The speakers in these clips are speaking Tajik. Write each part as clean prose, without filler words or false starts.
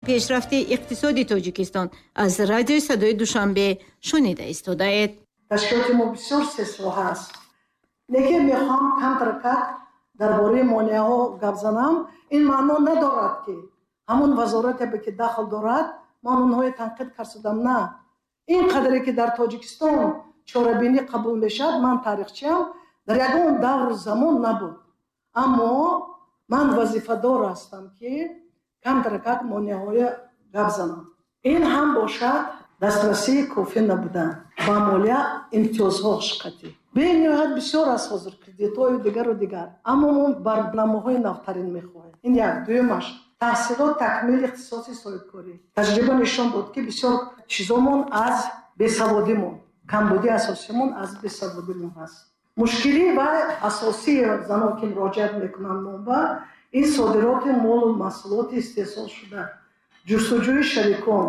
Пешрафти иқтисоди Тоҷикистон аз радиои Садои Душанбе шунида истодаед. Ташкилоти мо бисёр сесоҳа аст. Лекин мехоҳам камтаркак дар бораи монеаҳо гап занам. Ин маъно надорад, ки ҳамон вазорате, ки дахл дорад, ман онҳое танқид кардам. На, ин қадре ки дар Тоҷикистон чорабинӣ қабул мешавад, ман таърихчиам, дар ягон давру замон набуд. Аммо ман вазифадор ҳастам, ки камтаракак монеаҳоя гап занам. Ин ҳам бошад дастрасии кофӣ набудан ба молия, имтиёзҳо ҳақиқатӣ бениҳоят бисёр аст ҳозир, кредитҳою дигару дигар, аммо мо барномаҳои навтарин мехоҳем. Ин як. Дуюмаш, таҳсилот, такмили ихтисоси соҳибкорӣ. Таҷриба нишон дод, ки бисёр чизомон аз бесаводимон, камбудии асосимон аз бесаводимон ҳаст. Мушкилӣ ва асосии занон, ки муроҷиат мекунанд мо, ин содироти молу маҳсулоти истеҳсолшуда, ҷустуҷӯи шарикон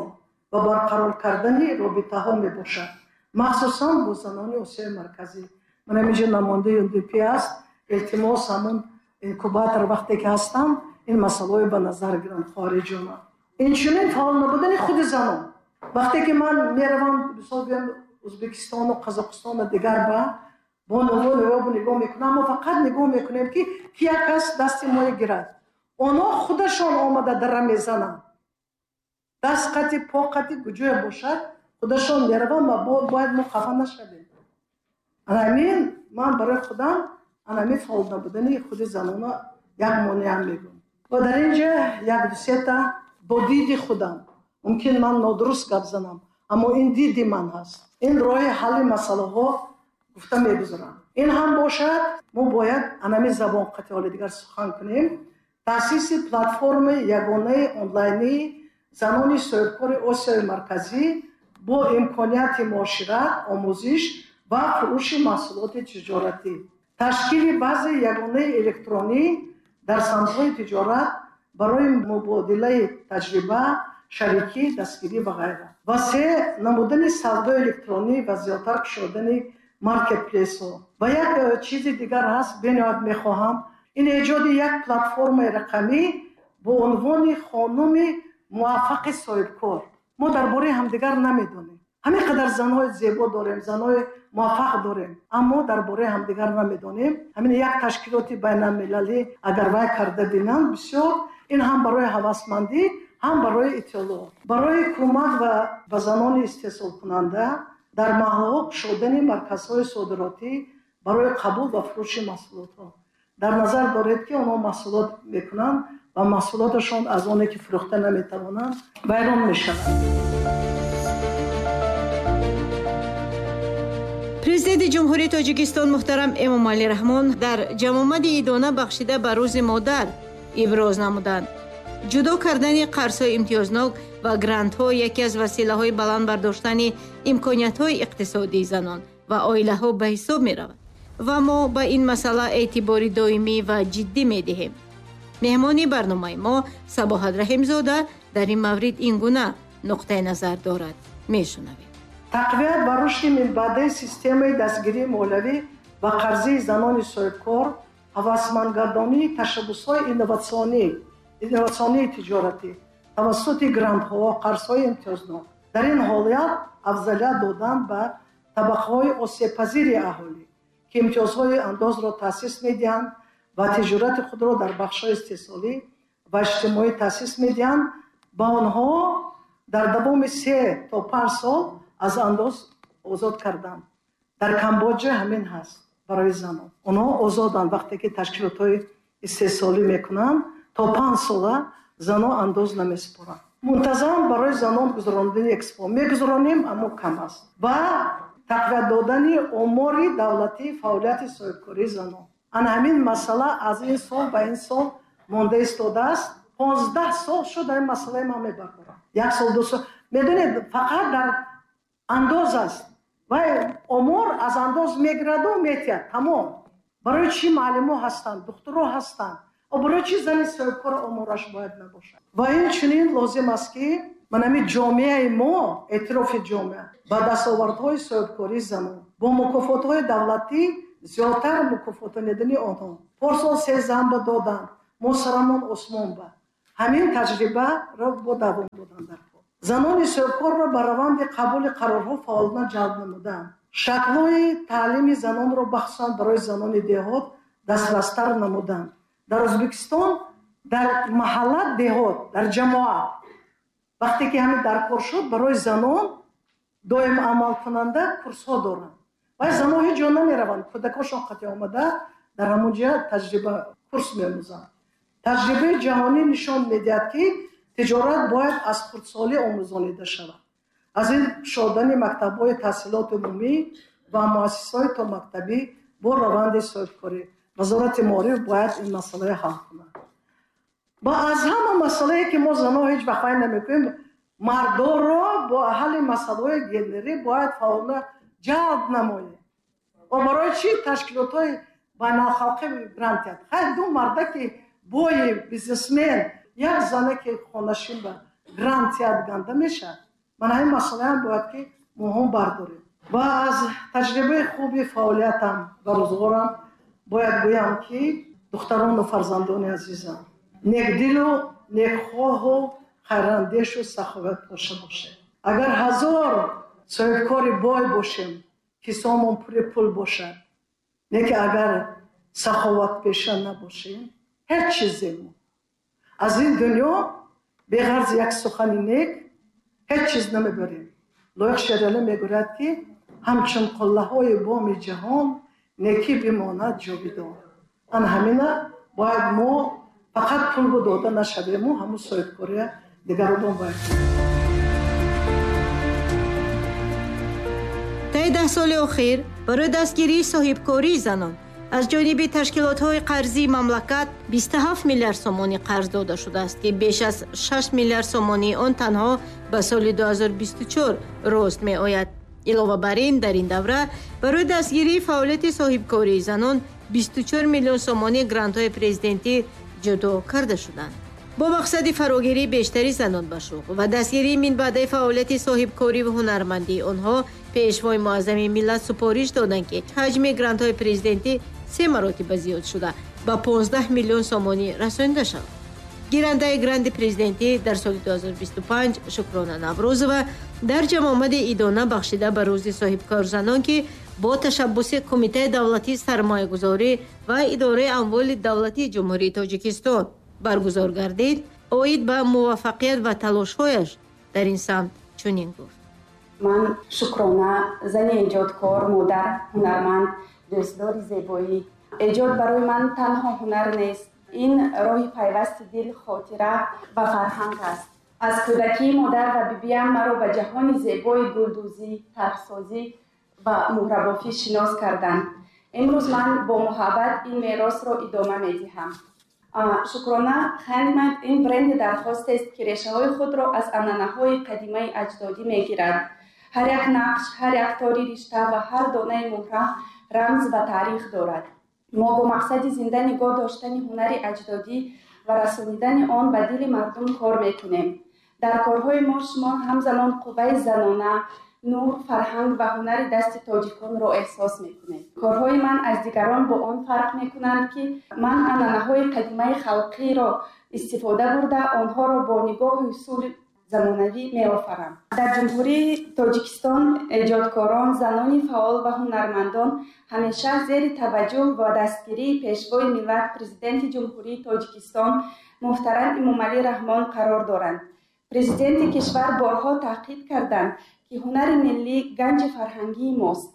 ва барқарор кардани робитаҳо мебошад, махсусан бо занони Осиёи Марказӣ. Ман ҳаминҷо намояндаи ЮНДП аст. Илтимос, ҳамун инкубатор вақте ки ҳастанд, ин масъалаҳое ба назар гиранд, хоҳариҷона. Инчунин фаъол набудани худи занон. Вақте ки ман меравам, мисол гӯям, Ӯзбекистону Қазоқистону дигар, ба бонуво нигоҳ мекунам, мо фақат нигоҳ мекунем, ки ки як кас дасти моя гирад. Онҳо худашон омада дара мезананд, даст қати, по қати, куҷое бошад, худашон мераванд ва бояд мо хафа нашавем. Анамин ман барои худам анамин фаъол набудани худи занона як монеа мегӯям. Ва дар ин ҷа як дусета бо диди худам, мумкин ман нодуруст гап занам, аммо ин диди ман ҳаст, ин роҳи ҳалли масъалаҳо гуфта мегузарам. Ин ҳам бошад, мо бояд анами забон қати ҳоли дигар сухан кунем. Таъсиси платформаи ягонаи онлайнии занони соҳибкори Осиёи Марказӣ бо имконияти муошират, омӯзиш ва фурӯши маҳсулоти тиҷоратӣ, ташкили баъзе ягонаи электронӣ дар самтҳои тиҷорат барои мубодилаи таҷриба, шарикӣ, дастгирӣ ва ғайра, ва се намудани савдои электронӣ ва зиёдтар кушодани маркетплейсҳо. Ва як чизи дигар ҳаст, бениҳоят мехоҳам, ин эҷоди як платформаи рақамӣ бо унвони «Хонуми муваффақи соҳибкор». Мо дар бораи ҳамдигар намедонем. Ҳамин қадар занҳои зебо дорем, занҳои муваффақ дорем, аммо дар бораи ҳамдигар намедонем. Ҳамин як ташкилоти байналмилалӣ агар вай карда бинанд, бисёр ин ҳам барои ҳавасмандӣ, ҳам барои иттилоъ, барои кӯмак ва ба занони истеҳсолкунанда дар маҳаллаҳо кушодани марказҳои содиротӣ барои қабул ва фурӯши маҳсулотҳо. Дар назар доред, ки онҳо маҳсулот мекунанд ва маҳсулоташон аз оне ки фурӯхта наметавонанд, вайрон мешавад. Президенти Ҷумҳурии Тоҷикистон муҳтарам Эмомалӣ Раҳмон дар ҷамъомади идона бахшида ба Рӯзи модар иброз намуданд: ҷудо кардани қарзҳои имтиёзнок ва грантҳо яке аз василаҳои баланд бардоштани имкониятҳои иқтисодии занон ва оилаҳо ба ҳисоб меравад ва мо ба ин масъала эътибори доимӣ ва ҷиддӣ медиҳем. Меҳмони барномаи мо Сабоҳат Раҳимзода дар ин маврид ин гуна нуқтаи назар дорад. Мешунавем. Тақвият ва рушди минбаъдаи системаи дастгирии молиявӣ ва қарзии занони соҳибкор, ҳавасмандгардонии ташаббусҳои инноватсионии тиҷоратӣ тавассути грантҳо, қарзҳои имтиёзнок. Дар ин ҳолият афзалият додан ба табақаҳои осебпазири аҳолӣ, ки имтиёзҳои андозро таъсис медиҳанд ва тиҷорати худро дар бахшҳои истеҳсолӣ ва иҷтимоӣ таъсис медиҳанд, ба онҳо дар давоми 3 то 5 сол аз андоз озод кардан. Дар Камбоҷа ҳамин ҳаст барои занон. Онҳо озоданд, вақте ки ташкилотҳои истеҳсолӣ мекунанд, то 5 сола занон андоз намесупоранд. Мунтазам барои занон гузаронидани экспо мегузаронем, аммо кам аст. Ва тақвият додани омори давлатии фаъолияти соҳибкории занон. Ана ҳамин масъала аз ин сол ба ин сол монда истодааст. 15 сол шуд, дар ин масъалаи ман мебардорам. Як сол, 2 сол, медонед, фақат дар андоз аст ва омор аз андоз мегираду метиҳад, тамом. Барои чӣ муаллимо ҳастанд, духтуро ҳастанд, барои чӣ зани соҳибкор омораш бояд набошад? Ва инчунин лозим аст, ки ман ҳамин ҷомеаи мо, эътирофи ҷомеа ба дастовардҳои соҳибкории занон бо мукофотҳои давлатӣ, зиёдтар мукофотонидани онҳо. Порсол се зан ба доданд, мо сарамон осмон ба. Ҳамин таҷрибаро бо давом додан дар кор. Занони соҳибкорро ба раванди қабули қарорҳо фаъолона ҷалб намудан. Шаклҳои таълими занонро бахусусан барои занони деҳот дастрастар намудан. Дар Ӯзбекистон дар маҳалла деҳот, дар ҷамоат вақте ки ҳамин дар кор шуд, барои занон доим амалкунанда курсҳо доранд. Вай занон ҳеҷ ҷо намераванд, кӯдакошон қатъи омада дар ҳамон ҷо таҷриба курс меомӯзанд. Таҷрибаи ҷаҳонӣ нишон медиҳад, ки тиҷорат бояд аз хурдсолӣ омӯзонида шавад. Аз ин кушодани мактабҳои таҳсилоти умумӣ ва муассисаҳои томактабӣ бо раванди соҳибкорӣ. Вазорати маориф бояд ин масъаларо ҳал кунад. Ва аз ҳама масъалае ки мо занон ҳеҷ вақт фаҳм намекунем, мардонро бо ҳалли масъалаҳои гендерӣ бояд фаъолона ҷалб намоем. Ва барои чӣ ташкилотҳои байналхалқӣ грант диҳад? Хай ду марда ки бои бизнесмен, як зане ки хонашин ба грант диҳад ганда мешавад. Ман ҳамин масъалаам бояд ки моҳон бардорем. Ва аз таҷрибаи хуби фаъолиятам ва рӯзғорам бояд гӯям ки духтарону фарзандони азизам, некдилу некхоҳу хайрандешу саховатпоша бошед. Агар ҳазор соҳибкори бой бошем, кисомон пури пул бошад, лекин агар саховатпеша набошем, ҳеҷ чиземо аз ин дунё беғарз як сухани нек ҳеҷ чиз намебарем. Лоиқ Шералӣ мегӯяд ки ҳамчун қуллаҳои боми ҷаҳон некӣ бимонад ҷовидон. Ан ҳамина бояд мо фақат пул дода нашавему, ҳамун соҳибкория дигарон бояд. Таи 10 соли охир барои дастгирии соҳибкории занон аз ҷониби ташкилотҳои қарзии мамлакат 27 миллиард сомонӣ қарз дода шудааст, ки беш аз 6 миллиард сомонии он танҳо ба соли 2024 рост меояд. Илова бар ин, дар ин давра барои дастгирии фаъолияти соҳибкории занон 24 миллион сомонӣ грантҳои президентӣ ҷудо карда шуданд. Бо мақсади фарогирии бештари занон ба шуғл ва дастгирии минбаъдаи фаъолияти соҳибкорӣ ва ҳунармандии онҳо, пешвои муаззами миллат супориш доданд, ки ҳаҷми грантҳои президентӣ 3 маротиба зиёд шуда ба 15 миллион сомонӣ расонида шавад. Гирандаи гранти президентӣ дар соли 2025 Шукрона Наврӯзова дар ҷамъомади идона бахшида ба рӯзи соҳибкорзанон, ки бо ташаббуси Кумитаи давлатии сармоягузорӣ ва идораи амволи давлатии Ҷумҳурии Тоҷикистон баргузор гардид, оид ба муваффақият ва талошҳояш дар ин самт чунин гуфт. Ман Шукрона, зани эҷодкор, модар, ҳунарманд, дӯстдори зебоӣ. Эҷод барои ман танҳо ҳунар нест. Ин роҳи пайвасти дил, хотира ва фарҳанг аст. Аз кӯдакии модар ва бибиям маро ба ҷаҳони зебои гулдӯзӣ, тарҳсозӣ ва муҳрабофӣ шинос карданд. Имрӯз ман бо муҳаббат ин меросро идома медиҳам. Шукрона Handmade ин бренди дархостест, ки решаҳои худро аз анъанаҳои қадимаи аҷдодӣ мегирад. Ҳар як нақш, ҳар як тори ришта ва ҳар донаи муҳра рамз ва таърих дорад. Мо бо мақсади зинда нигоҳ доштани ҳунари аҷдодӣ ва расонидани он ба дили мардум кор мекунем. Дар корҳои мо шумо ҳамзамон қувваи занона, нур, фарҳанг ва ҳунари дасти тоҷиконро эҳсос мекунед. Корҳои ман аз дигарон бо он фарқ мекунанд, ки ман анъанаҳои қадимаи халқиро истифода бурда, онҳоро бо нигоҳи усули замонавӣ меофарам. Дар Ҷумҳурии Тоҷикистон эҷодкорон, занони фаъол ва ҳунармандон ҳамеша зери таваҷҷӯҳ ва дастгирии пешвои миллат, Президенти Ҷумҳурии Тоҷикистон муҳтарам Эмомалӣ Раҳмон қарор доранд. Президенти кишвар борҳо таъкид карданд, ки ҳунари миллӣ ганҷи фарҳангии мост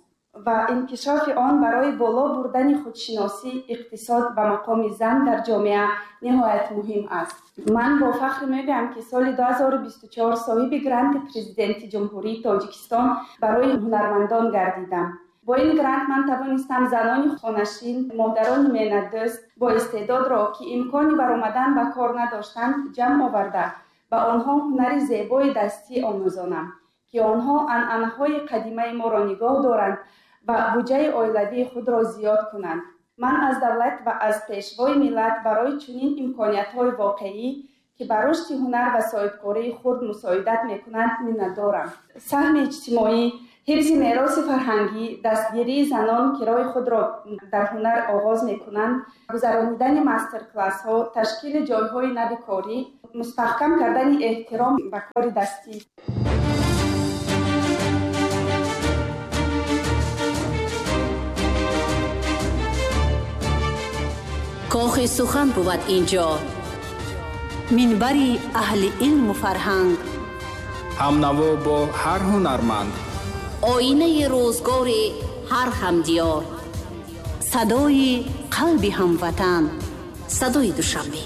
ва инкишофи он барои боло бурдани худшиносӣ, иқтисод ва мақоми зан дар ҷомеа ниҳоят муҳим аст. Ман бо фахр мегӯям, ки соли 2024 соҳиби гранти Президенти Ҷумҳурии Тоҷикистон барои ҳунармандон гардидам. Бо ин грант ман тавонистам занони хонашин, модарони меҳнатдӯст бо истеъдодро, ки имкони баромадан ба кор надоштанд, ҷамъ оварда ба онҳо ҳунари зебои дастӣ омӯзонам, ки онҳо анъанаҳои қадимаи моро нигоҳ доранд ва буҷаи оилавии худро зиёд кунанд. Ман аз давлат ва аз пешвои миллат барои чунин имкониятҳои воқеӣ, ки ба рушди ҳунар ва соҳибкории хурд мусоидат мекунанд, миннатдорам. Саҳми иҷтимоӣ, ҳифзи мероси фарҳангӣ, дастгирии занон, ки роҳи худро дар ҳунар оғоз мекунанд, гузаронидани мастер-классҳо, ташкили ҷойҳои нави корӣ Мустаҳкам кардани эҳтиром ба кори дастӣ. Кохи сухан бувад инҷо, минбари аҳли илму фарҳанг. Ҳамнаво бо ҳар ҳунарманд, оинаи рӯзгори ҳар ҳамдиёр, садои қалби ҳамватан, садои Душанбе.